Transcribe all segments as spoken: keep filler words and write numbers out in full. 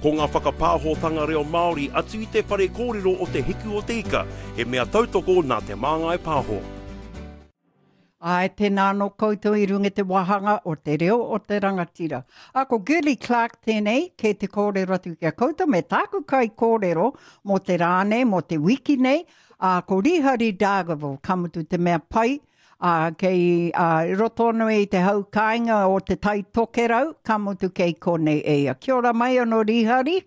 Ko ngā whakapāhotanga reo Māori atu i te whare kōrero o Te Hiku o Te Ika, he mea tautoko nā Te Māngai Pāho. Ai, tēnā anō koutou i runga i te wāhanga o te reo o te rangatira. A ko Girlie Clarke tēnei, kei te kōrero atu ki a koutou me tāku kai kōrero mō te rā nei, mō te wiki nei, a ko Rihari Dargaville, ka mutu te mea pai, a kei a, roto anō i te hau kāinga o te Tai Tokerau, ka mutu kei konei e ia. Kia ora mai anō Rihari.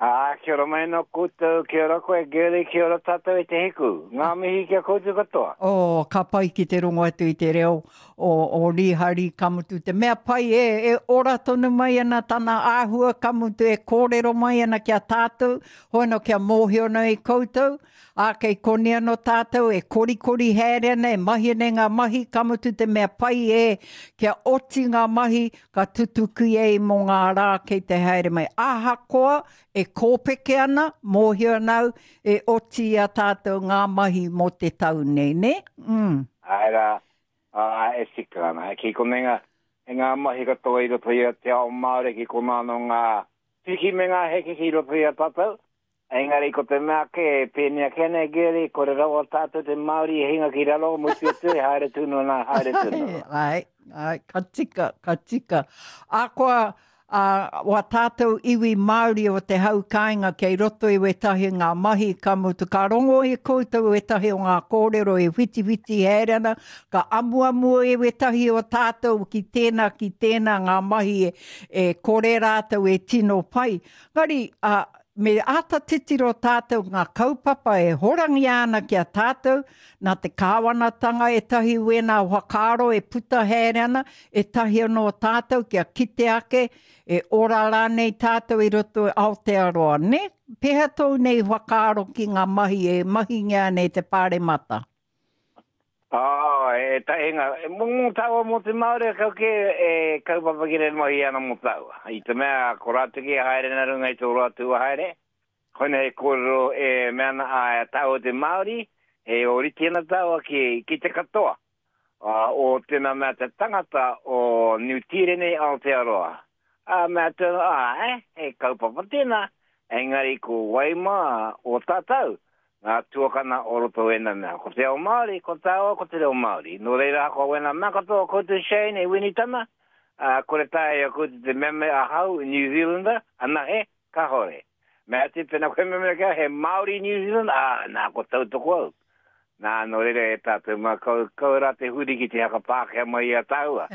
Ā, kia ora mai anō koutou, kia ora koe Girlie, kia ora tātou e Te Hiku. Ngā mihi ki a koutou katoa. Oh, ka pai ki te rongo atu i te reo o, o Rihari, ka mutu te mea pai e, e ora tonu mai ana tana āhua, ka mutu e kōrero mai ana ki a tātou, hoano kia mōhio nei koutou, ā, kei konei anō tātou e korikori haere ana, e mahi ana i ngā mahi, ka mutu te mea pai e, kia oti ngā mahi, ka tutuki ai mō ngā rā kei te haere mai. Ahakoa e kōpeke ana, mōhio ana au, e oti i a tātou ngā mahi mō te tau nei, nē? Mm. Āe rā, ā, e tika ana. Ki konei ngā, e ngā mahi katoa i roto i a te ao Māori, ki konā anō ngā piki me ngā heke ki roto i a tātou. Engari ko te mea kē, e pēnei ake ana e Girlie, kore rawa tātou te Māori e hinga ki raro, mutu atu e haere tonu ana, haere tonu. Ai, ai, ka tika, ka tika. Akoa, a, wā tātou iwi Māori o te hau kāinga kei roto i wētahi ngā mahi, ka mutu, ka rongo i koutou wētahi o ngā kōrero e whitiwhiti haere ana, ka amuamu e wētahi o tātou ki tēnā, ki tēnā ngā mahi e, e kore rātou e tino pai. Ngari, a, me āta titiro tātou ngā kaupapa e horangia ana ki a tātou, nā te kāwanatanga ētahi wēnā whakaaro e puta haere ana, ētahi anō tātou kia kite ake e ora rānei tātou i roto i Aotearoa, ne? Pēhea tōu nei whakaaro ki ngā mahi e mahingia ana e te Pāremata? Oh, e tahi ngā, mō mō tāua mō te Māori, kau kē e kaupapa ki rere mahi ana mō tāua. I te mea, ko rātou ki e haere nā runga i tō rātou haere, koinei he kōrero e mea ana a tāua te Māori, e ōrite ana tāua ki, ki te katoa o tēnā mea te tangata o Niu Tīreni Aotearoa. Ā, mea atu anō, āe, he kaupapa tēnā, engari ko wai mā o tātou, ngā tuakana o roto wēnā mea. Ko te ao Māori, ko tāua, ko te reo Māori. Nō reira, ahakoa wēnā mea katoa koutou Shane e Winitana, ā, kore taea i a koutou te mea me ahau, New Zealander, anahe, kāore. Mea atu, pēnā koe me mea ki au, he Māori New Zealand, ā, nā, ko tautoko au. Nā, nō reira e tātou mā, kau, kau rā te huri ki te haka Pākehā mai i a tāua.